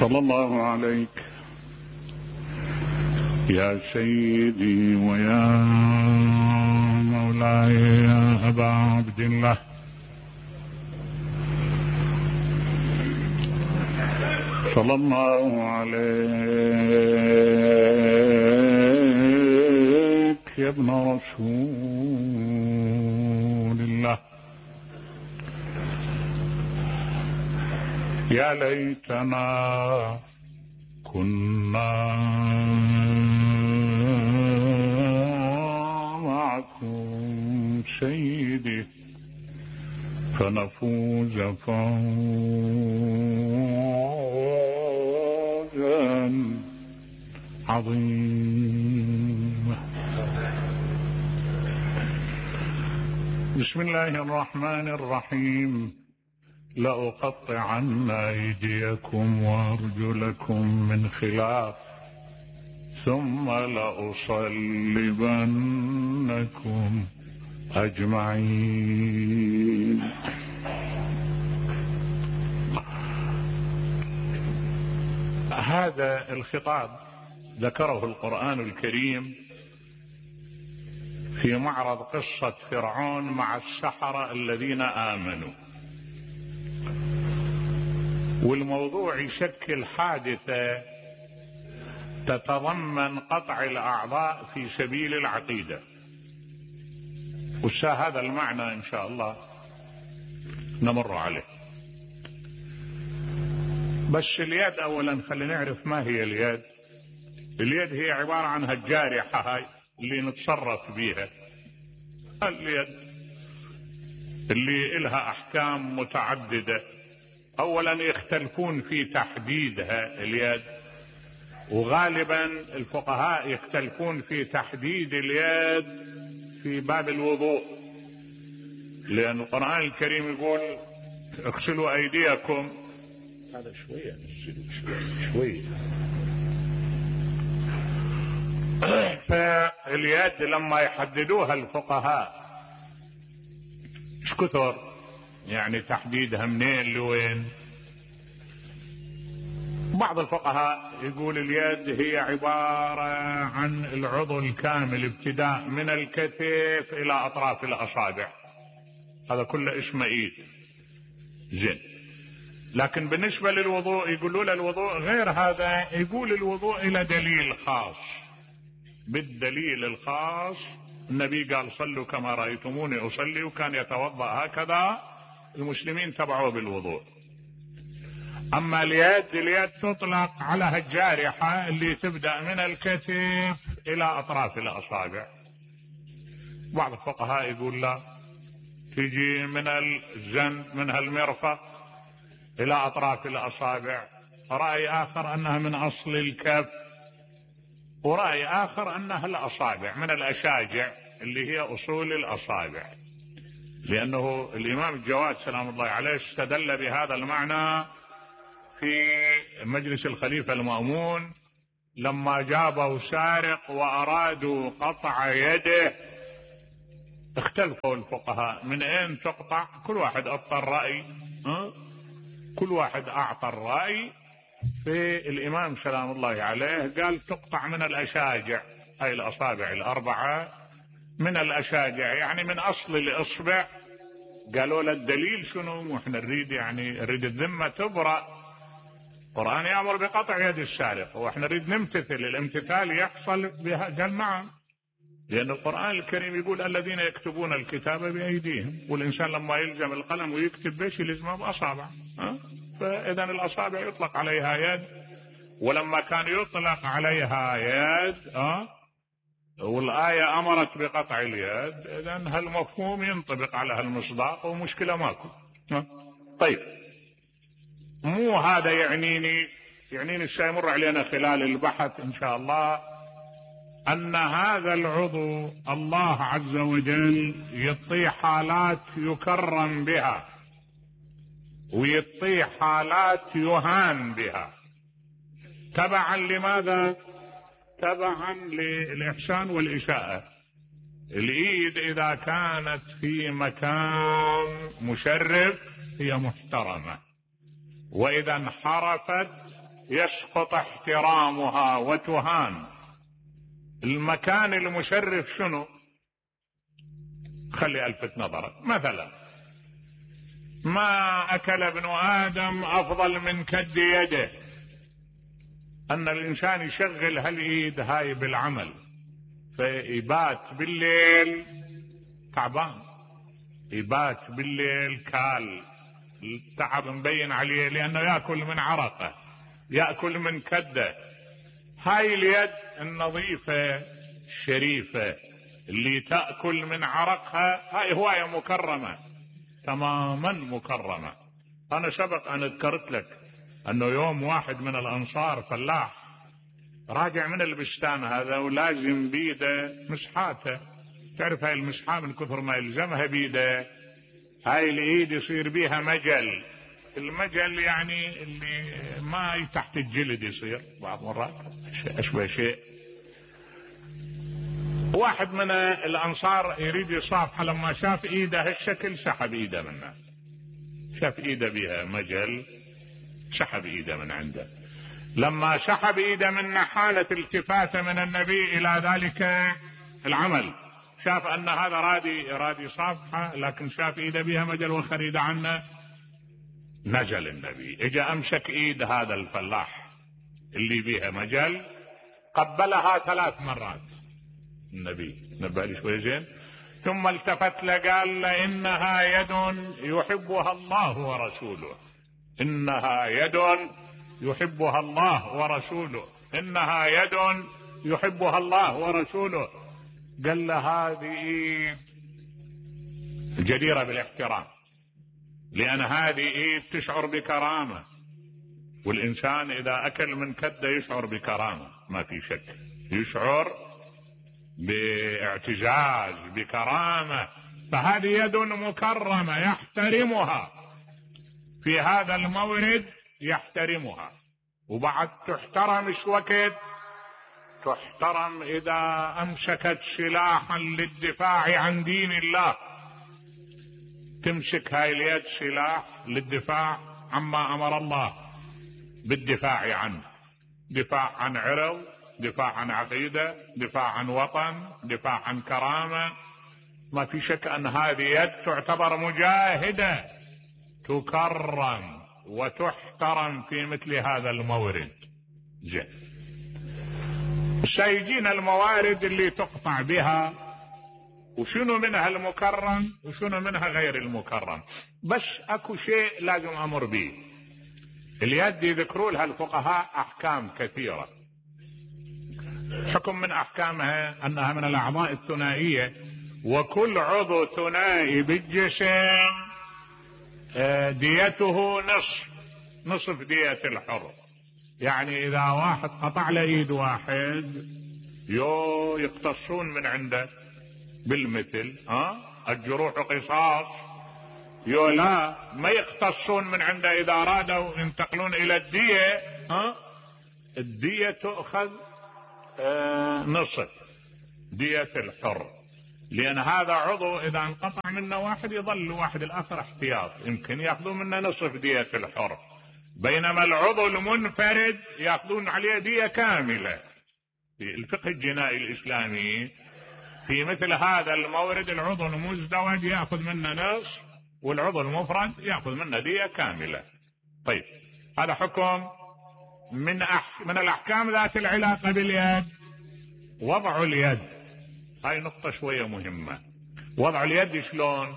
صلى الله عليك يا سيدي ويا مولاي يا أبا عبد الله، صلى الله عليك يا ابن رسول الله. يا ليتنا كنا معكم سيدي فنفوز فوزا عظيما. بسم الله الرحمن الرحيم. لأقطعن أيديكم وأرجلكم من خلاف ثم لأصلبنكم أجمعين. هذا الخطاب ذكره القرآن الكريم في معرض قصة فرعون مع السحرة الذين آمنوا، والموضوع يشكل حادثة تتضمن قطع الأعضاء في سبيل العقيدة، هذا المعنى إن شاء الله نمر عليه. بس اليد أولا خلينا نعرف ما هي اليد. اليد هي عبارة عن هالجارحة هاي اللي نتصرف بيها، اليد اللي إلها أحكام متعددة. أولا يختلفون في تحديدها اليد، وغالبا الفقهاء يختلفون في تحديد اليد في باب الوضوء، لأن القرآن الكريم يقول اغسلوا أيديكم. هذا شوية شوية. فاليد لما يحددوها الفقهاء ايش كثر يعني تحديدها منين لوين. بعض الفقهاء يقول اليد هي عبارة عن العضو الكامل ابتداء من الكتف إلى أطراف الأصابع، هذا كله اسمه إيد. زين، لكن بالنسبة للوضوء يقولوا له الوضوء غير هذا. يقول الوضوء إلى دليل خاص، بالدليل الخاص النبي قال صلوا كما رأيتموني أصلي، وكان يتوضأ هكذا، المسلمين تبعوه بالوضوء. أما اليد تطلق على هالجارحة اللي تبدأ من الكتف إلى أطراف الأصابع. بعض الفقهاء يقول لا، تجي من الجنب من هالمرفق إلى أطراف الأصابع. رأي آخر أنها من أصل الكف، ورأي آخر أنها الأصابع من الأشاجع اللي هي أصول الأصابع، لأنه الإمام الجواد سلام الله عليه استدل بهذا المعنى في مجلس الخليفة المأمون لما جابوا سارق وأرادوا قطع يده. اختلفوا الفقهاء من أين تقطع، كل واحد أعطى الرأي، كل واحد أعطى الرأي. في الإمام سلام الله عليه قال تقطع من الأشاجع، أي الأصابع الأربعة من الأشاجع، يعني من أصل الإصبع. قالوا له الدليل شنو؟ وإحنا نريد الذمة تبرأ. القرآن يأمر بقطع يد السارق، وإحنا نريد نمتثل، الامتثال يحصل بها. قال نعم، لأن القرآن الكريم يقول الذين يكتبون الكتاب بأيديهم، والإنسان لما يلزم القلم ويكتب بيش يلزمه بأصابع. فإذا الأصابع يطلق عليها يد، ولما كان يطلق عليها يد والآية أمرت بقطع اليد، إذا هالمفهوم ينطبق على هالمصداق ومشكلة ماكو. طيب، مو هذا يعنيني الشيء علينا خلال البحث إن شاء الله أن هذا العضو الله عز وجل يعطيه حالات يكرم بها، ويعطيه حالات يهان بها. تبعا لماذا؟ تبعا للإحسان والإساءة. الإيد إذا كانت في مكان مشرف هي محترمة، وإذا انحرفت يسقط احترامها وتهان. المكان المشرف شنو؟ خلي الفت نظرك، مثلا ما اكل ابن ادم افضل من كد يده، ان الانسان يشغل هالايد هاي بالعمل فيبات بالليل تعبان، يبات بالليل كال، التعب مبين عليه لانه ياكل من عرقه، ياكل من كده. هاي اليد النظيفه الشريفه اللي تاكل من عرقها هاي هوايه مكرمه، تماما مكرمه. انا سبق ان ذكرت لك انه يوم واحد من الانصار فلاح راجع من البستان هذا ولازم بيده مسحاته، تعرف هاي المسحة من كثر ما يلزمها بيده هاي الايد يصير بيها مجل، المجل يعني اللي ما تحت الجلد يصير بعض مرات اشبه شيء. واحد من الانصار يريد يصافحه، لما شاف ايده هالشكل سحب ايده منه، شاف ايده بيها مجل سحب ايده من عنده. لما سحب ايده منه حالت التفاته من النبي الى ذلك العمل، شاف ان هذا رادي صافحه لكن شاف ايده بيها مجل وخريده عنه، نزل النبي اجى امسك ايد هذا الفلاح اللي بيها مجل قبلها 3 مرات. النبي نبه لي شوي زين، ثم التفت له قال له انها يد يحبها الله ورسوله، انها يد يحبها الله ورسوله، انها يد يحبها الله ورسوله. قال له هذه جديرة بالاحترام، لان هذه ايد تشعر بكرامة، والانسان اذا اكل من كده يشعر بكرامة ما في شك، يشعر باعتزاز بكرامة، فهذه يد مكرمة يحترمها في هذا المورد، يحترمها. وبعد تحترم ايش وقت؟ تحترم اذا امسكت سلاحا للدفاع عن دين الله، تمسك هاي اليد سلاح للدفاع عما امر الله بالدفاع عنه، دفاع عن عرض، دفاع عن عقيدة، دفاع عن وطن، دفاع عن كرامة. ما في شك ان هذه يد تعتبر مجاهدة تكرم وتحترم في مثل هذا المورد. زين، سيجينا الموارد اللي تقطع بها، وشنو منها المكرم وشنو منها غير المكرم. بس اكو شيء لازم امر به، اليد يذكروا لها الفقهاء احكام كثيرة. حكم من احكامها انها من الاعضاء الثنائية، وكل عضو ثنائي بالجسم ديته نصف دية الحر. يعني اذا واحد قطع له ايد واحد يقتصون من عنده بالمثل، الجروح قصاص، لا ما يقتصون من عنده، اذا ارادوا ينتقلون الى الدية الدية تؤخذ نصف دية الحر، لان هذا عضو اذا انقطع منه واحد يظل واحد الاخر احتياط، يمكن ياخذون منه نصف دية الحر، بينما العضو المنفرد ياخذون عليه دية كاملة. في الفقه الجنائي الاسلامي في مثل هذا المورد العضو المزدوج ياخذ منه نصف، والعضو المفرد ياخذ منه دية كاملة. طيب، هذا حكم من الاحكام ذات العلاقة باليد. وضع اليد، هاي نقطة شوية مهمة. وضع اليد شلون؟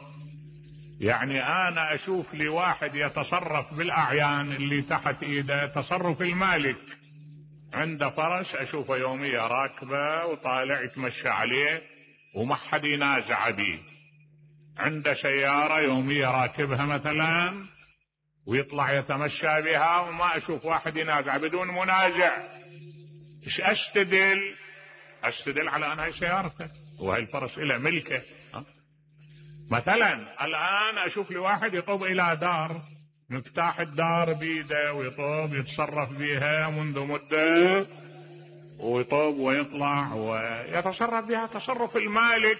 يعني انا اشوف لي واحد يتصرف بالاعيان اللي تحت ايده تصرف المالك، عنده فرس اشوفه يوميا راكبه وطالع يتمشى عليه وما حد ينازع به، عنده سيارة يوميا راكبها مثلا ويطلع يتمشى بها وما اشوف واحد ينازع بدون منازع. ايش استدل على ان هاي سيارته وهي الفرس له ملكه. مثلا الان اشوف لي واحد يطوب الى دار، مفتاح الدار بيده ويطوب يتصرف بها منذ مدة، ويطوب ويطلع ويتصرف بها تصرف المالك.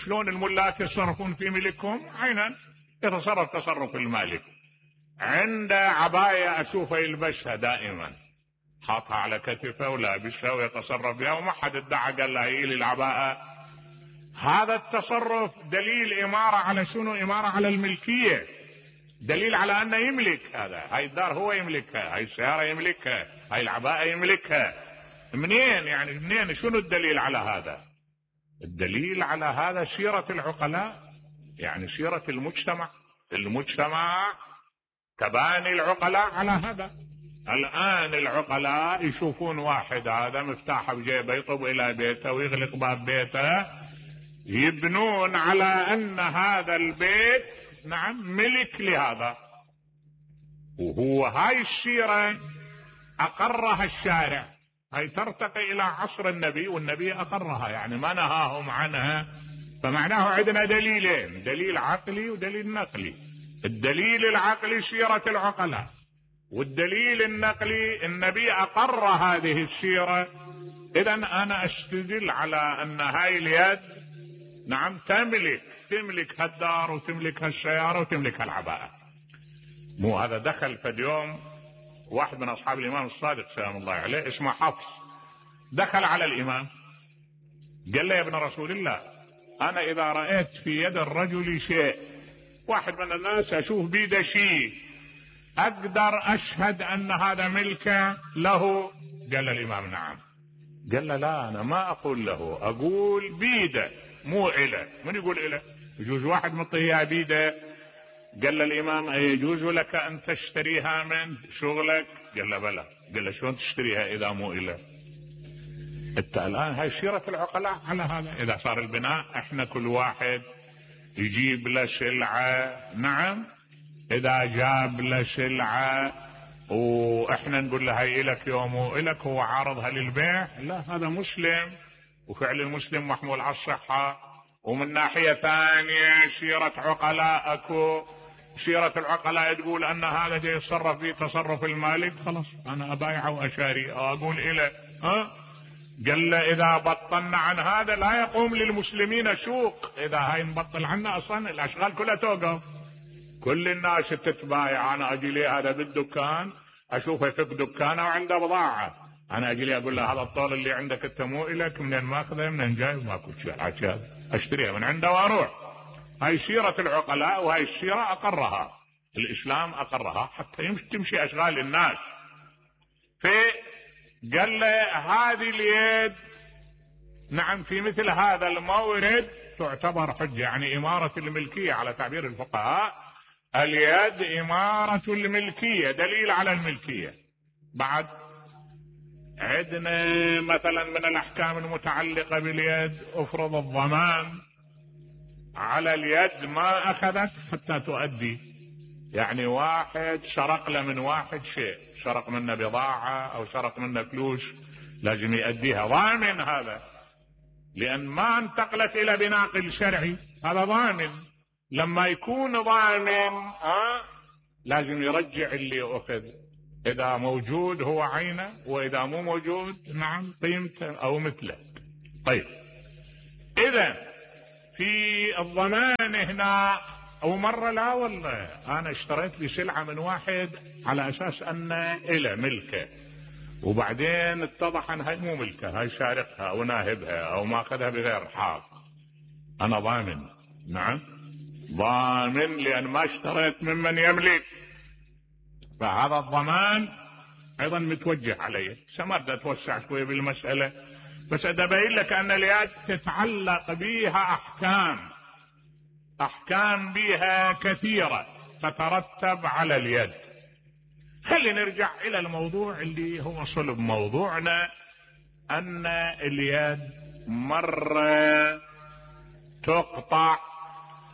شلون الملاك يتصرفون في ملكهم؟ عينا يتصرف تصرف المالك. عنده عباية اشوفه يلبسها دائما، حاطها على كتفه ولابسها ويتصرف بها، وما حد ادعى قال له هي لي العباءة. هذا التصرف دليل إمارة على شنو؟ إمارة على الملكية، دليل على أنه يملك هذا، هاي الدار هو يملكها، هاي السيارة يملكها، هاي العباءة يملكها. منين يعني؟ منين؟ شنو الدليل على هذا؟ الدليل على هذا سيرة العقلاء، يعني سيرة المجتمع. المجتمع تباني العقلاء على هذا. الآن العقلاء يشوفون واحد هذا مفتاحه بجيبه يطب إلى بيته ويغلق باب بيته، يبنون على أن هذا البيت نعم ملك لهذا. وهو هاي السيرة أقرها الشارع، هاي ترتقي إلى عصر النبي، والنبي أقرها يعني ما نهاهم عنها. فمعناه عندنا دليلين، دليل عقلي ودليل نقلي. الدليل العقلي سيرة العقلاء، والدليل النقلي النبي أقر هذه السيرة. إذن أنا أستدل على أن هاي اليد نعم تملك هالدار وتملك هالسيارة وتملك هالعباءة. مو هذا دخل في اليوم واحد من أصحاب الإمام الصادق سلام الله عليه اسمه حفص، دخل على الإمام قال له يا ابن رسول الله، أنا إذا رأيت في يد الرجل شيء، واحد من الناس أشوف بيده شيء، أقدر أشهد أن هذا ملك له؟ قال الإمام نعم. قال له لا، أنا ما أقول له، أقول بيده مو إله. من يقول إله؟ يجوز واحد مطيها بيده. قال الإمام أيجوز لك أن تشتريها من شغلك؟ قال له بلى. قال له شلون تشتريها إذا مو إله؟ انت الآن هاي سيرة العقلاء على هذا. إذا صار البناء احنا كل واحد يجيب له سلعة، نعم إذا جاب له سلعة واحنا نقول له هاي إلك يوم وإلك، هو عارضها للبيع؟ لا، هذا مسلم وفعل المسلم محمول على الصحة. ومن ناحية ثانية سيرة عقلاء اكو، سيرة العقلاء تقول ان هذا جاي يتصرف فيه تصرف المالك، خلاص انا ابايعه واشاري او اقول إله. قال له اذا بطلنا عن هذا لا يقوم للمسلمين سوق. اذا هاي نبطل عنا اصلا الاشغال كلها توقف، كل الناس تتبايع. انا اجي لي هذا بالدكان اشوفه يفك دكانه وعنده بضاعة، انا اجي لي اقول له هذا الطول اللي عندك انت مو الك، منين ماخذه منين جاي؟ ماكو شيء عشان اشتريها من عنده واروح. هاي سيرة العقلاء، وهاي السيرة اقرها الاسلام، اقرها حتى تمشي اشغال الناس. قال له هذه اليد نعم في مثل هذا المورد تعتبر حجة، يعني إمارة الملكية على تعبير الفقهاء. اليد إمارة الملكية، دليل على الملكية. بعد عندنا مثلا من الأحكام المتعلقة باليد، افرض الضمان على اليد ما أخذت حتى تؤدي. يعني واحد سرق له من واحد شيء، سرق منه بضاعة أو سرق منه فلوس، لازم يؤديها، ضامن هذا، لأن ما انتقلت إلى بناقل شرعي، هذا ضامن. لما يكون ضامن لازم يرجع اللي أخذ، إذا موجود هو عينه، وإذا مو موجود نعم قيمته أو مثله. طيب إذا في الضمان هنا، أو مرة لا والله أنا اشتريت لي سلعة من واحد على أساس أن إله ملكه، وبعدين اتضح أن هاي مو ملكه، هاي سارقها أو ناهبها أو ماخذها بغير حق، أنا ضامن. نعم ضامن، لأن ما اشتريت ممن يملك. فهذا الضمان أيضا متوجه عليه. سمرت أتوسع شوية بالمسألة، بس أبين لك أن اليد تتعلق بها أحكام بها كثيرة تترتب على اليد. خلينا نرجع إلى الموضوع اللي هو صلب موضوعنا، أن اليد مرة تقطع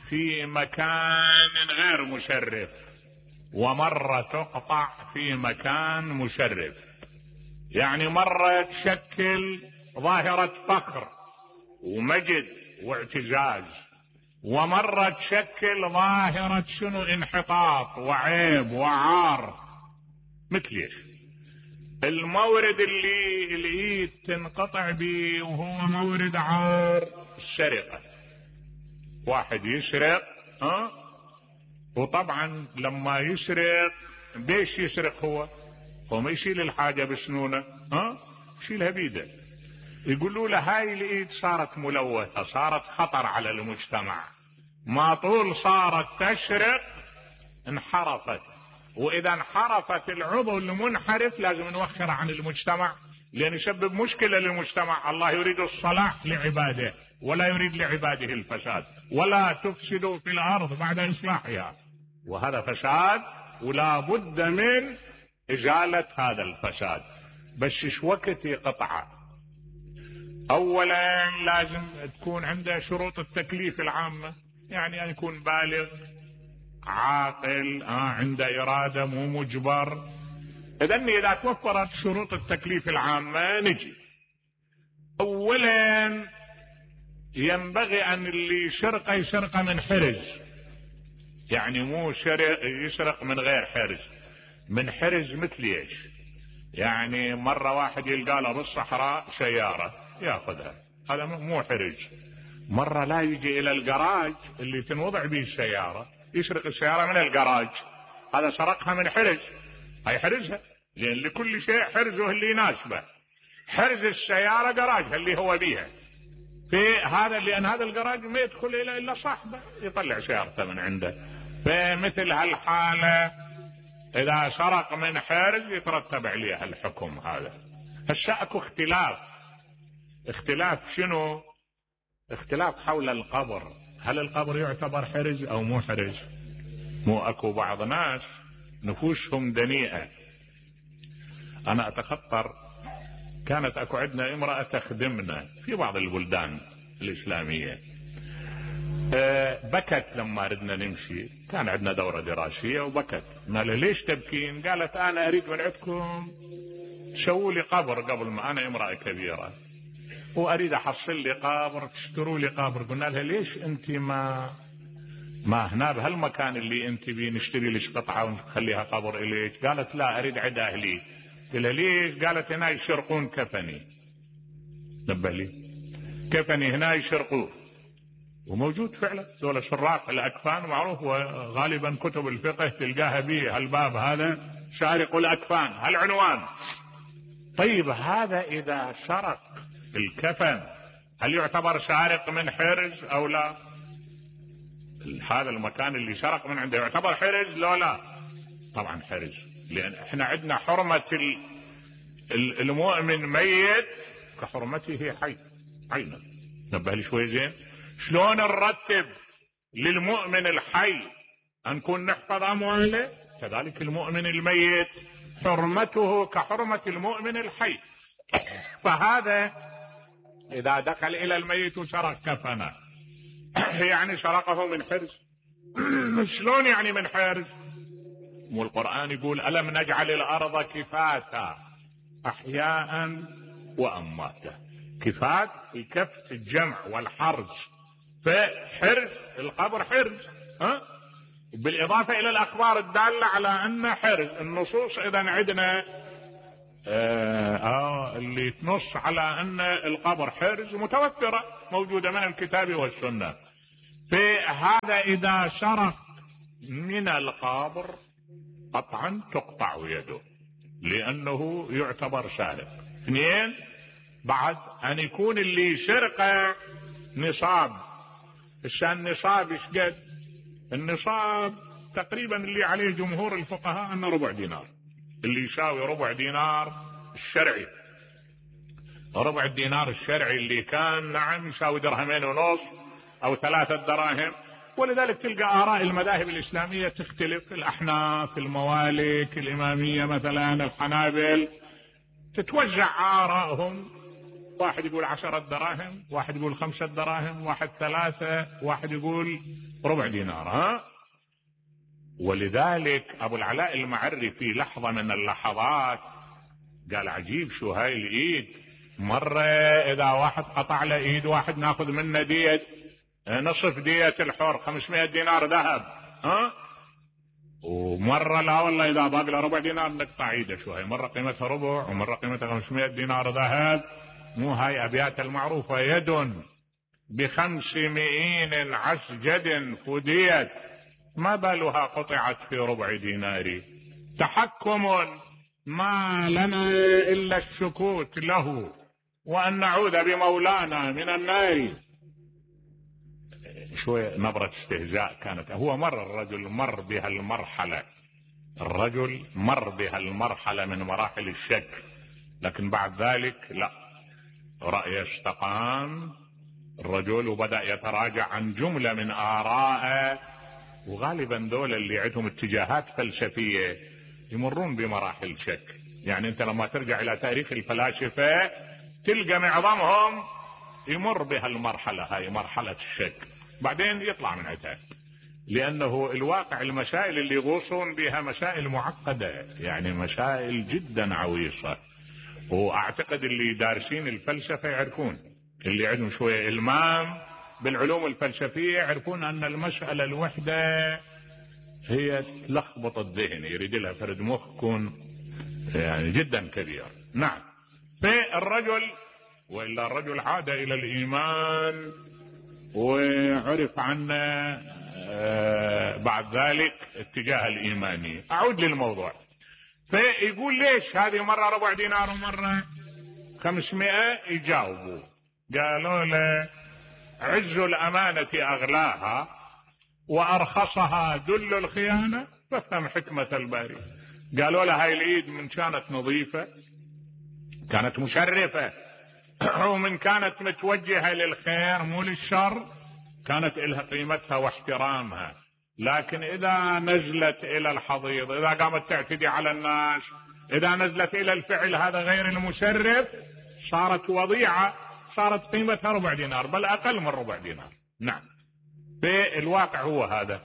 في مكان غير مشرف، ومرة تقطع في مكان مشرف. يعني مرة تشكل ظاهرة فقر ومجد واعتزاز، ومرة تشكل ظاهرة شنو؟ انحطاط وعيب وعار. مثل ايش؟ المورد اللي الايد تنقطع به وهو مورد عار، السرقة. واحد يسرق وطبعا لما يسرق بيش يسرق هو ما يشيل الحاجة بسنونه، يشيلها بيده. يقولوا له هاي الايد صارت ملوثة، صارت خطر على المجتمع، ما طول صارت تشرق انحرفت، واذا انحرفت العضو المنحرف لازم نوخر عن المجتمع لان يسبب مشكلة للمجتمع. الله يريد الصلاح لعباده ولا يريد لعباده الفساد، ولا تفسدوا في الارض بعد اصلاحها، وهذا فساد ولا بد من ازالة هذا الفساد. بس ايش وقت يقطعه؟ اولا لازم تكون عنده شروط التكليف العامة، يعني ان يكون بالغ عاقل، عنده ارادة مو مجبر. اذا توفرت شروط التكليف العامة نجي. اولا ينبغي ان اللي يسرق من حرز، يعني مو يسرق من غير حرز، من حرز مثل ايش؟ يعني مرة واحد يلقى له بالصحراء سيارة ياخذها، هذا مو حرز. مرة لا يجي الى الجراج اللي تنوضع به السيارة يسرق السيارة من الجراج، هذا سرقها من حرز، هاي حرزها، لان لكل شيء حرزه اللي يناسبه. حرز السيارة جراجها اللي هو بيها، في هذا لان هذا الجراج ما يدخل الا صاحبه يطلع سيارته من عنده. فمثل هالحالة اذا سرق من حرز يترتب عليها الحكم هذا. هسه اكو اختلاف شنو؟ اختلاف حول القبر، هل القبر يعتبر حرز او مو حرز؟ مو اكو بعض ناس نفوسهم دنيئة. انا اتخطر كانت اكو عندنا امرأة تخدمنا في بعض البلدان الاسلامية، بكت لما ردنا نمشي، كان عندنا دورة دراسية وبكت. قال ليش تبكين؟ قالت انا اريد من عندكم تسووا لي قبر قبل ما، انا امرأة كبيرة واريد احصل لي قبر، تشتروا لي قبر. قلنا لها ليش انت ما هنا بهالمكان اللي انت بيه نشتري لك قطعة ونخليها قبر اليك؟ قالت لا اريد عند اهلي. قلت لها ليش؟ قالت هنا يشرقون كفني. نبه لي كفني هنا يشرقوه، وموجود فعلا ذولا شراق الاكفان معروف، وغالبا كتب الفقه تلقاها به هالباب هذا شارق الاكفان هالعنوان. طيب هذا اذا سرق الكفن هل يعتبر سارق من حرز او لا؟ هذا المكان اللي سرق من عنده يعتبر حرز لو لا؟ طبعا حرز، لان احنا عندنا حرمة المؤمن ميت كحرمته حي عينا. نبه لي شوي زين، شلون نرتب للمؤمن الحي ان نكون نحفظ امواله، كذلك المؤمن الميت حرمته كحرمة المؤمن الحي. فهذا اذا دخل الى الميت وسرق كفنه يعني سرقه من حرز. شلون يعني من حرز؟ والقرآن يقول ألم نجعل الأرض كفاتا أحياء وأمواتا. كفات الكف الجمع والحرز، فحرز القبر حرز، بالإضافة إلى الأخبار الدالة على أن حرز. النصوص إذا عندنا اللي تنص على أن القبر حرز متوفرة موجودة من الكتاب والسنة. فهذا إذا سرق من القبر قطعا تقطع يده لأنه يعتبر سارق. اثنين، بعد أن يكون اللي سرقه نصاب. النصاب ايش قد؟ النصاب تقريبا اللي عليه جمهور الفقهاء أنه ربع دينار، اللي يساوي ربع دينار الشرعي. ربع الدينار الشرعي اللي كان نعم يساوي 2.5 درهم أو 3 دراهم. ولذلك تلقى آراء المذاهب الإسلامية تختلف، الأحناف، الموالك، الإمامية مثلا، الحنابل، تتوزع آراءهم. واحد يقول 10 دراهم، واحد يقول 5 دراهم، واحد 3، واحد يقول ربع دينار. ولذلك أبو العلاء المعري في لحظة من اللحظات قال عجيب شو هاي الإيد، مرة إذا واحد قطع له إيد واحد ناخذ منه دية نصف دية الحر 500 دينار ذهب، ومرة لا والله إذا باقي له ربع دينار نقطع إيده. شو هاي؟ مرة قيمتها ربع ومرة قيمتها 500 دينار ذهب. مو هاي أبيات المعروفة يد ب500 عسجد فديت ما بالها قطعت في ربع دينار. تحكم ما لنا إلا السكوت له وأن نعوذ بمولانا من النار. شوية نبرة استهزاء كانت. هو الرجل مر بها المرحلة من مراحل الشك، لكن بعد ذلك لا، رأي استقام الرجل وبدأ يتراجع عن جملة من آراءه. وغالبا دول اللي عندهم اتجاهات فلسفية يمرون بمراحل شك. يعني انت لما ترجع الى تاريخ الفلاسفة تلقى معظمهم يمر بها المرحلة هاي، مرحلة الشك، بعدين يطلع من عتاب، لانه الواقع المسائل اللي يغوصون بها مسائل معقدة، يعني مسائل جدا عويصة. واعتقد اللي دارسين الفلسفة يعرفون، اللي عندهم شوية المام بالعلوم الفلسفية يعرفون ان المسألة الوحدة هي تلخبط الذهن، يريد لها فرد مخ يكون يعني جدا كبير. نعم. فالرجل وإلا الرجل عاد إلى الإيمان وعرف عنه بعد ذلك اتجاه الإيماني. أعود للموضوع. فيقول ليش هذه مرة ربع دينار ومرة 500؟ يجاوبوا قالوا له عز الأمانة أغلاها وأرخصها ذل الخيانة فافهم حكمة الباري. قالوا له هاي العيد من كانت نظيفة كانت مشرفة ومن كانت متوجهة للخير مو للشر كانت إلها قيمتها واحترامها، لكن إذا نزلت إلى الحضيض، إذا قامت تعتدي على الناس، إذا نزلت إلى الفعل هذا غير المشرف صارت وضيعة، صارت قيمتها ربع دينار بل أقل من ربع دينار. نعم. في الواقع هو هذا.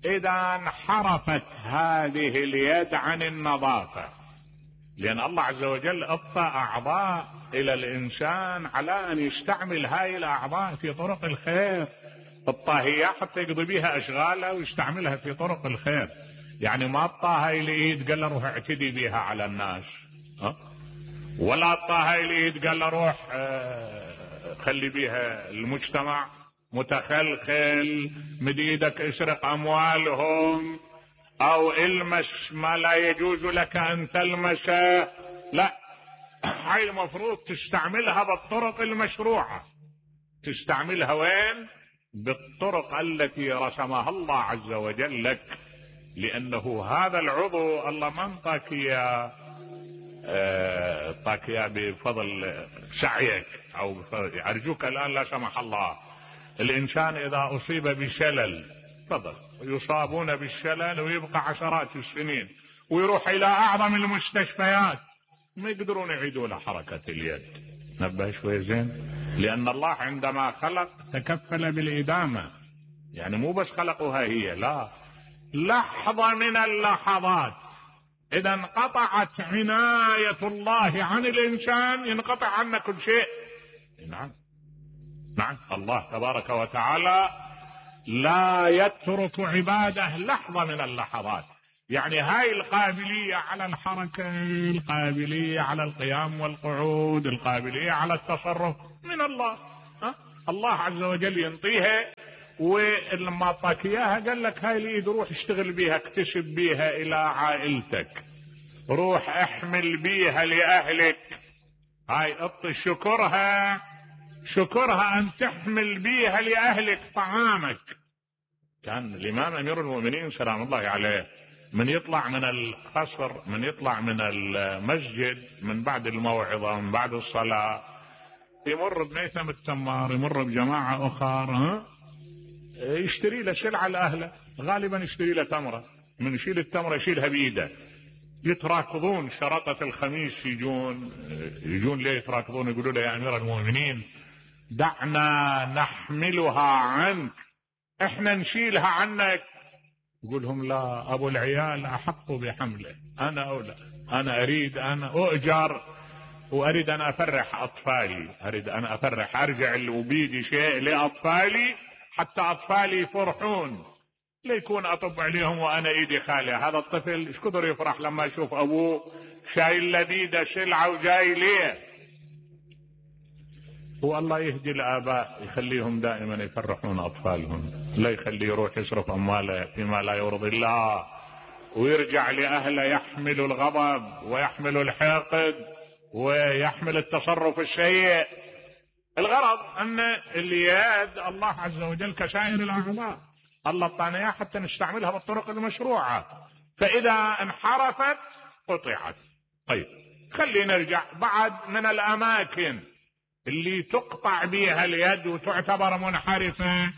إذا انحرفت هذه اليد عن النظافة، لأن الله عز وجل أعطى أعضاء إلى الإنسان على أن يستعمل هاي الأعضاء في طرق الخير الطاهية حتى يقضي بها أشغاله ويستعملها في طرق الخير. يعني ما أعطاها هاي الإيد قال له روح اعتدي بها على الناس، ولا أعطاها هاي الإيد قال له روح خلي بها المجتمع متخلخل، مد ايدك اسرق اموالهم او المس ما لا يجوز لك ان تلمسه. لا، هاي المفروض تستعملها بالطرق المشروعة. تستعملها وين؟ بالطرق التي رسمها الله عز وجل لك، لانه هذا العضو الله ما انطاك اياه بفضل سعيك او بفضل. ارجوك الان لا سمح الله الانسان اذا اصيب بشلل تفضل يصابون بالشلل ويبقى عشرات السنين ويروح الى اعظم المستشفيات ما يقدرون يعيدوا له حركة اليد. نبه شوي زين، لان الله عندما خلق تكفل بالادامة، يعني مو بس خلقها هي، لا، لحظة من اللحظات اذا انقطعت عناية الله عن الانسان ينقطع عنه كل شيء. نعم نعم. الله تبارك وتعالى لا يترك عباده لحظة من اللحظات. يعني هاي القابلية على الحركة، القابلية على القيام والقعود، القابلية على التصرف من الله. الله عز وجل ينطيها، ولما اعطاك اياها قال لك هاي اليد روح اشتغل بيها، اكتسب بيها الى عائلتك، روح احمل بيها لاهلك. هاي اعطي شكرها ان تحمل بيها لاهلك طعامك. كان الامام امير المؤمنين سلام الله عليه من يطلع من القصر، من يطلع من المسجد من بعد الموعظة من بعد الصلاة، يمر بنيثم التمار، يمر بجماعة اخر، يشتري له سلعة لأهله، غالبا يشتري له تمرة، من يشيل التمرة يشيلها بيده. يتراكضون شرطة الخميس، يجون ليه يتراكضون؟ يقولوا له يا امير المؤمنين دعنا نحملها عنك، احنا نشيلها عنك. يقول لهم لا، ابو العيال احق بحمله، انا اولى، انا اريد ان اؤجر واريد ان افرح اطفالي، اريد ان افرح، ارجع وبيدي شيء لاطفالي حتى اطفالي يفرحون، ليكون اطب عليهم وانا ايدي خالية. هذا الطفل ايش كثر يفرح لما يشوف ابوه شايل لبيده سلعة وجاي ليه. هو الله يهدي الآباء يخليهم دائما يفرحون أطفالهم، لا يخلي يروح يصرف أمواله فيما لا يرضي الله ويرجع لأهله يحمل الغضب ويحمل الحقد ويحمل التصرف السيء. الغرض أن اليد الله عز وجل كسائر الأعضاء الله اعطانا اياها حتى نستعملها بالطرق المشروعة، فإذا انحرفت قطعت. طيب خلينا نرجع بعد من الأماكن اللي تقطع بها اليد وتعتبر منحرفة.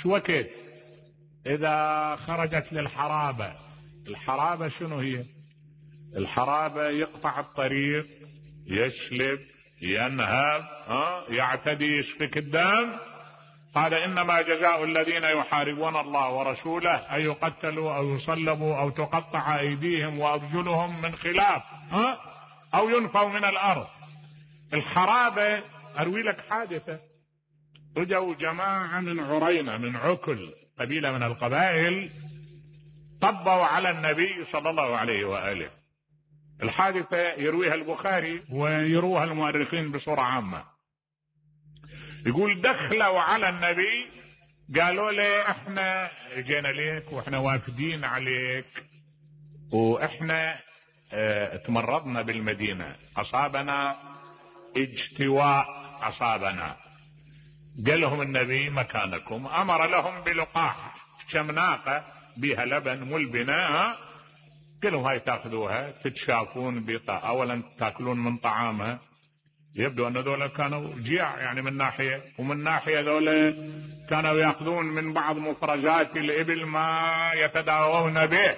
شو وقت؟ إذا خرجت للحرابة. الحرابة شنو هي؟ الحرابة يقطع الطريق، يسلب، ينهب، يعتدي، يسفك الدم. هذا إنما جزاء الذين يحاربون الله ورسوله أن يقتلوا أو يصلبوا أو تقطع أيديهم وأرجلهم من خلاف أو ينفوا من الأرض. الحرابة أروي لك حادثة. رجعوا جماعة من عرينة من عكل، قبيلة من القبائل، طبوا على النبي صلى الله عليه وآله. الحادثة يرويها البخاري ويروها المؤرخين بصورة عامة. يقول دخلوا على النبي قالوا له احنا جينا ليك واحنا وافدين عليك واحنا تمرضنا بالمدينة، اصابنا اجتواء، اصابنا. قال لهم النبي مكانكم، امر لهم بلقاح شمناقة بها لبن ملبنة، قال لهم هاي تاخذوها تتشافون اولا تاكلون من طعامها. يبدو ان ذولا كانوا جياع يعني من ناحية، ومن ناحية ذولا كانوا ياخذون من بعض مفرزات الابل ما يتداوون به.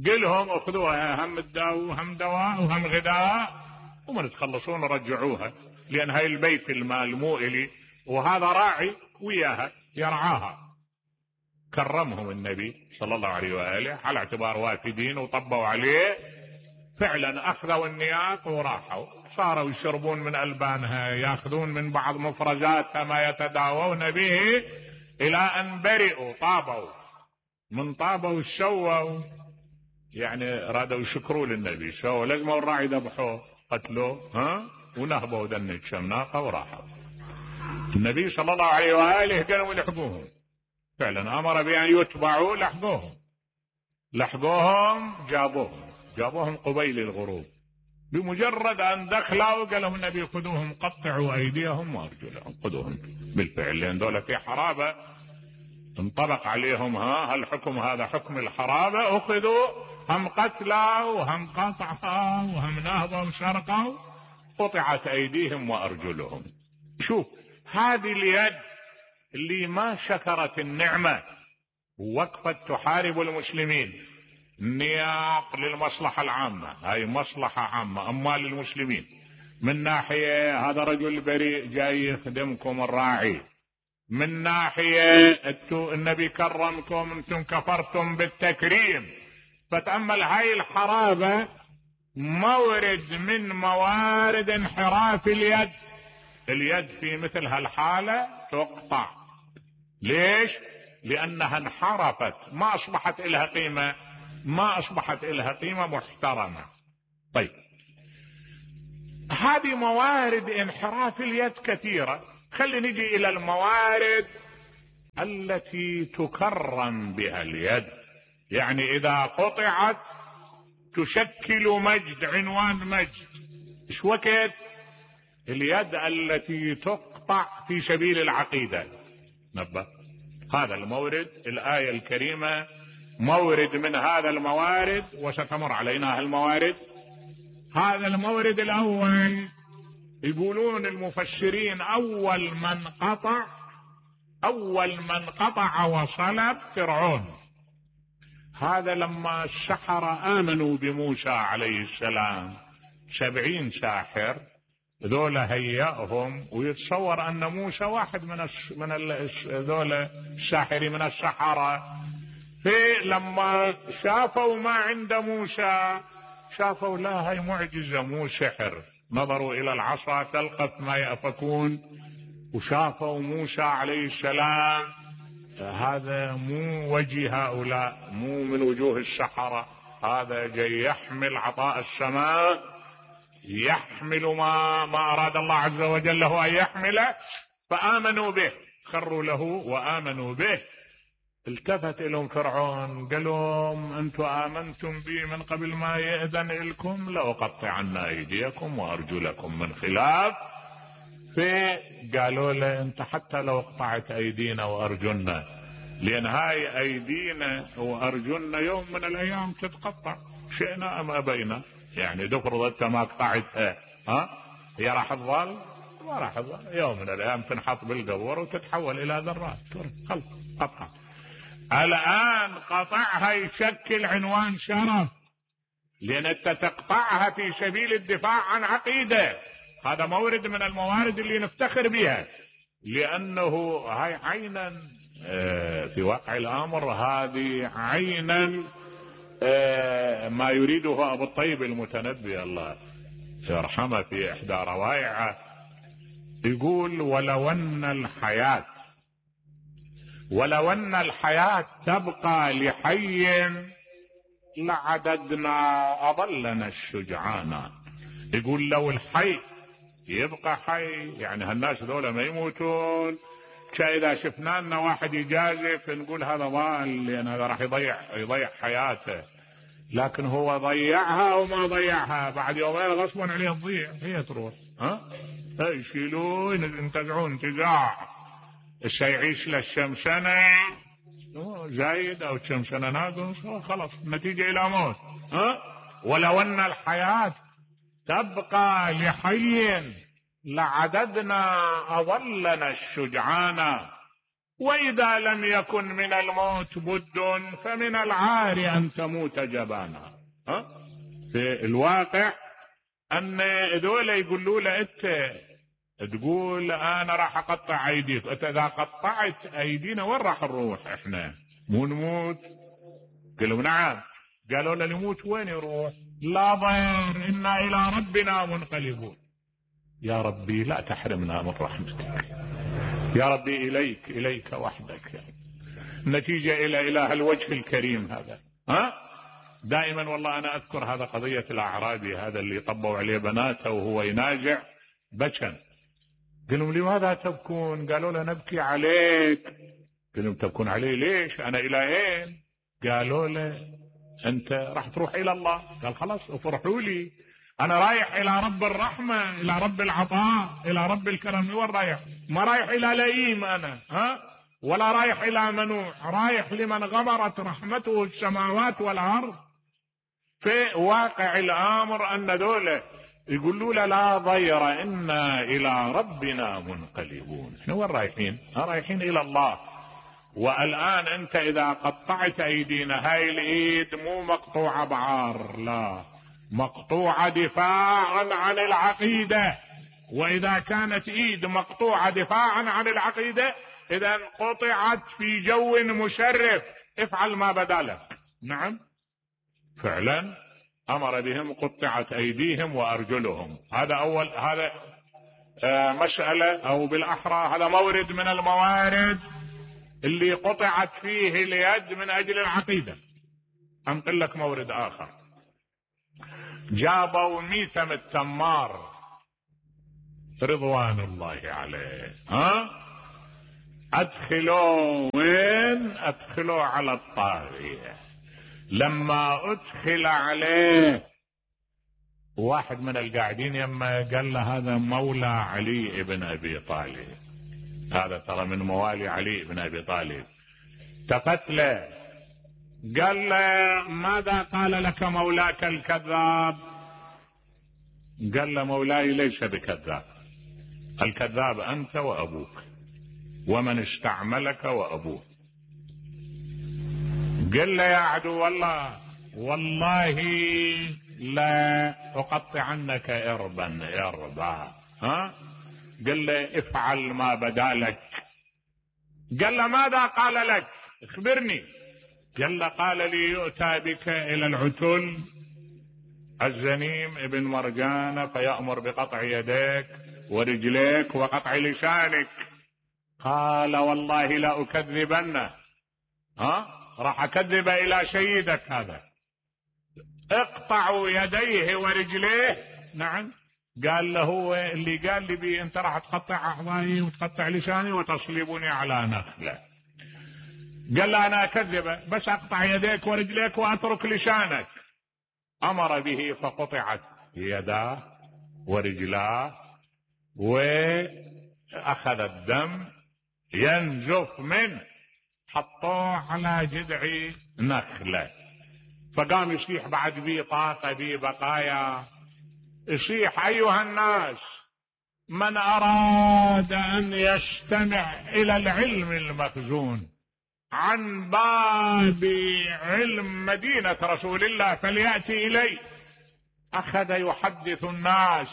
قل لهم اخذوها، هم الدواء وهم دواء وهم غذاء، ومن تخلصون رجعوها، لان هاي البيت المال مو الي وهذا راعي وياها يرعاها. كرمهم النبي صلى الله عليه وآله على اعتبار وافدين وطبوا عليه. فعلا اخذوا النياق وراحوا، صاروا يشربون من ألبانها، ياخذون من بعض مفرزاتها ما يتداوون به، الى ان برئوا، طابوا. من طابوا شووا يعني رادوا يشكروا للنبي، شو لازموا الراعي ذبحوه قتلوه ونهبوا دن الشمناقة وراحوا. النبي صلى الله عليه وآله قالوا يلحقوهم، فعلا امر بان يتبعوا، لحقوهم جابوهم قبيل الغروب. بمجرد ان دخلوا قال لهم النبي خذوهم قطعوا ايديهم وارجلهم، خذوهم. بالفعل لان دولة في حرابة انطبق عليهم هالحكم، هذا حكم الحرابة. اخذوا هم قتلوا وهم قطعوا وهم نهبوا وسرقوا، قطعت ايديهم وارجلهم. شوف هذه اليد اللي ما شكرت النعمة ووقفت تحارب المسلمين. نياق للمصلحة العامة، هاي مصلحة عامة، أموال المسلمين. من ناحية هذا رجل بريء جاي يخدمكم الراعي، من ناحية النبي كرمكم، انتم كفرتم بالتكريم. فتأمل هاي الحرابة مورد من موارد انحراف اليد. اليد في مثل هالحالة تقطع. ليش؟ لأنها انحرفت، ما أصبحت إلها قيمة، ما أصبحت إلها قيمة محترمة. طيب هذه موارد انحراف اليد كثيرة. خلينا نجي إلى الموارد التي تكرم بها اليد، يعني إذا قطعت تشكل مجد، عنوان مجد. إيش وقت؟ اليد التي تقطع في سبيل العقيدة. نبه هذا المورد، الآية الكريمة مورد من هذا الموارد، وستمر علينا هالموارد. هذا المورد الأول يقولون المفسرين أول من قطع وصلب فرعون. هذا لما السحرة آمنوا بموسى عليه السلام 70 ساحر، ذولا هيئهم، ويتصور أن موسى واحد من ذولا الساحرين من السحرة. لما شافوا ما عند موسى شافوا لا هي معجزة مو سحر، نظروا إلى العصا تلقف ما يأفكون، وشافوا موسى عليه السلام هذا مو وجه هؤلاء، مو من وجوه السحرة، هذا جاي يحمل عطاء السماء يحمل ما أراد الله عز وجل له أن يحمله، فآمنوا به، خروا له وآمنوا به. التفت لهم فرعون قال لهم أنتم آمنتم بي من قبل ما يأذن لكم لأقطعن أيديكم وأرجلكم من خلاف. فقالوا له أنت حتى لو قطعت أيدينا وأرجلنا، لأن هاي أيدينا وأرجلنا يوم من الأيام تتقطع، شئنا أم أبينا. يعني تفرض أنت ما قطعتها، هي راح تظل؟ ما راح تظل، يوم من الأيام تنحط بالقبور وتتحول إلى ذرات، خلص قطعت. الآن قطعها يشكل عنوان شرف، لأن أنت تقطعها في سبيل الدفاع عن عقيدة، هذا مورد من الموارد اللي نفتخر بها، لأنه هاي عينا في واقع الأمر، هذه عينا ما يريده أبو الطيب المتنبي الله يرحمه في إحدى روائعه، يقول ولو أن الحياة تبقى لحي لعددنا أضلنا الشجعان. يقول لو الحي يبقى حي، يعني هالناس ذولا ما يموتون، إذا شفنا لنا واحد يجازف نقول هذا ضال، لأن هذا راح يضيع حياته، لكن هو ضيعها وما ضيعها، بعد يومين غصبا عليه تضيع، هي تروح، يشيلون ينتزعون انتزاع. الشيء يعيش للشمسنة زايد أو الشمسنة ناقص، خلاص نتيجة إلى موت. ولو أن الحياة تبقى لحي لعددنا أضلنا الشجعان، وإذا لم يكن من الموت بد فمن العار أن تموت جبانا. في الواقع أن ذولا يقولوا له أنت تقول أنا راح أقطع أيديك، أنت إذا قطعت أيدينا وين راح نروح إحنا؟ مو نموت؟ قالوا نعم. قالوا له نموت وين يروح؟ لا ضير إنا إلى ربنا منقلبون. يا ربي لا تحرمنا من رحمتك، يا ربي إليك وحدك، نتيجة إلى إله الوجه الكريم هذا. دائما والله أنا أذكر هذا قضية الأعرابي هذا اللي طبوا عليه بناته وهو يناجع بكى. قالوا لماذا تبكون؟ قالوا له نبكي عليك. قالوا تبكون علي ليش؟ أنا إلهين. قالوا له أنت راح تروح إلى الله. قال خلاص افرحوا لي، أنا رايح إلى رب الرحمة، إلى رب العطاء، إلى رب الكرم. وين رايح؟ ما رايح إلى لئيم أنا، ولا رايح إلى منوع، رايح لمن غمرت رحمته السماوات والأرض. في واقع الأمر أن دولة يقولوا له لا ضير إنا إلى ربنا منقلبون. احنا وين رايحين؟ رايحين إلى الله. والآن أنت إذا قطعت أيدينا، هاي الإيد مو مقطوعة بعار، لا، مقطوعة دفاعا عن العقيدة. وإذا كانت إيد مقطوعة دفاعا عن العقيدة، إذا قطعت في جو مشرف، افعل ما بدا لك. نعم فعلا أمر بهم قطعت أيديهم وأرجلهم. هذا أول، هذا مسألة، أو بالأحرى هذا مورد من الموارد اللي قطعت فيه اليد من أجل العقيدة. أنقل لك مورد آخر. جابوا ميثم التمار رضوان الله عليه، أدخلوا وين؟ أدخلوا على الطاغية. لما أدخل عليه واحد من القاعدين يما قال له هذا مولى علي بن أبي طالب، هذا ترى من موالي علي بن أبي طالب، تقتله. قال له ماذا قال لك مولاك الكذاب؟ قال له مولاي ليس بكذاب، الكذاب أنت وأبوك ومن استعملك وأبوك. قال له يا عدو الله والله لا أقطعنك إربا. قال له افعل ما بدا لك. قال له ماذا قال لك؟ اخبرني. قال له قال لي يؤتى بك إلى العتل الزنيم ابن مرجان فيأمر بقطع يديك ورجليك وقطع لسانك. قال والله لا أكذبنه، راح أكذب إلى سيدك هذا. اقطعوا يديه ورجليه نعم. قال له هو اللي قال لي بي انت راح تقطع اعضائي وتقطع لساني وتصلبني على نخله. قال له انا اكذبه، بس اقطع يديك ورجليك واترك لسانك. امر به فقطعت يداه ورجلاه، واخذ الدم ينزف منه، حطوه على جذع نخله. فقام يصيح بعد بي طاقه بي بقايا، يصيح ايها الناس من اراد ان يستمع الى العلم المخزون عن باب علم مدينة رسول الله فليأتي إلي. أخذ يحدث الناس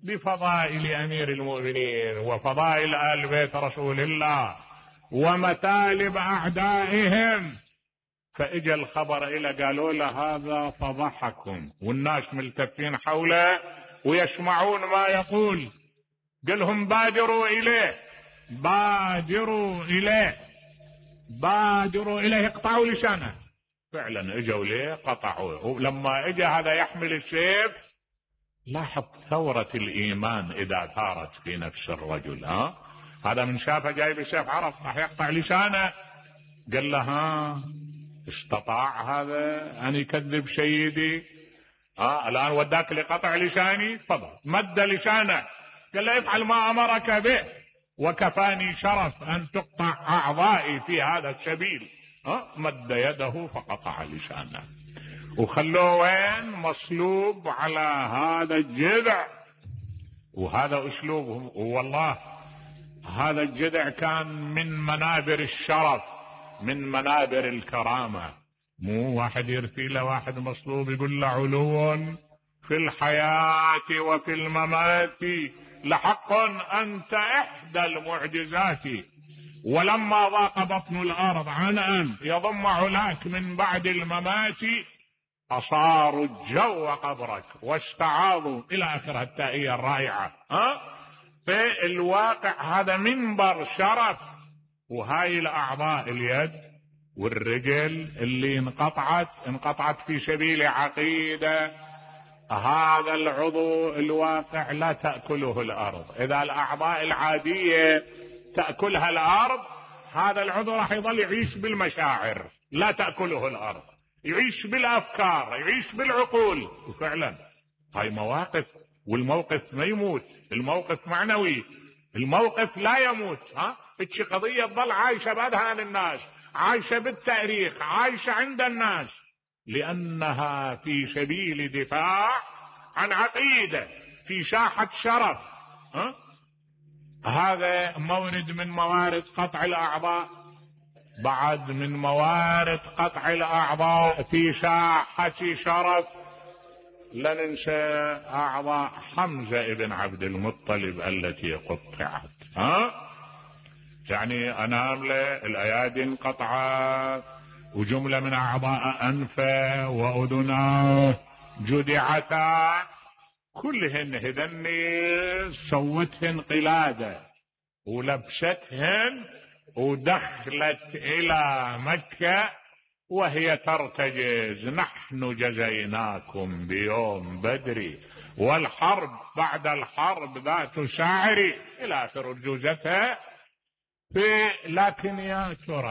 بفضائل أمير المؤمنين وفضائل آل بيت رسول الله ومثالب أعدائهم. فإجا الخبر إلى قالوا له هذا فضحكم، والناس ملتفين حوله ويسمعون ما يقول. قالهم بادروا إليه، بادروا إليه، بادروا إليه، اقطعوا لسانه. فعلا اجوا ليه قطعوه. ولما اجى هذا يحمل السيف، لاحظ ثورة الإيمان إذا ثارت في نفس الرجل. هذا من شافه جايب السيف عرف راح يقطع لسانه، قال له استطاع هذا أن يكذب سيدي؟ الآن وداك لقطع لساني، تفضل. مد لسانه، قال له افعل ما أمرك به، وكفاني شرف أن تقطع أعضائي في هذا السبيل. مد يده فقطع لسانه، وخلوه وين؟ مصلوب على هذا الجذع. وهذا أسلوبهم. والله هذا الجذع كان من منابر الشرف، من منابر الكرامة. مو واحد يرثي له واحد مصلوب يقول له علو في الحياة وفي الممات لحق أنت إحدى المعجزات، ولما ضاق بطن الأرض عن أن يضم علاك من بعد الممات أصاروا الجو قبرك واستعاضوا إلى آخر التائية الرائعة. في الواقع هذا منبر شرف. وهاي الأعضاء اليد والرجل اللي انقطعت في سبيل عقيدة، هذا العضو الواقع لا تأكله الأرض. إذا الأعضاء العادية تأكلها الأرض، هذا العضو راح يظل يعيش بالمشاعر، لا تأكله الأرض، يعيش بالأفكار، يعيش بالعقول. وفعلا هاي مواقف، والموقف ما يموت، الموقف معنوي، الموقف لا يموت. اتش قضية تظل عايشة بأذهان الناس، عايشة بالتاريخ، عايشة عند الناس، لأنها في سبيل دفاع عن عقيدة في ساحة شرف. هذا مورد من موارد قطع الأعضاء. بعد من موارد قطع الأعضاء في ساحة شرف لا ننسى أعضاء حمزة ابن عبد المطلب التي قطعت. يعني أنامله، الأيادي انقطعت، وجملة من أعضاء أنفه وأذناه جدعتا، كلهن هذني سوتهن قلادة ولبستهن ودخلت إلى مكة وهي ترتجز: نحن جزيناكم بيوم بدر والحرب بعد الحرب ذات شاعر، إلى آخر رجوزتها. لكن يا ترى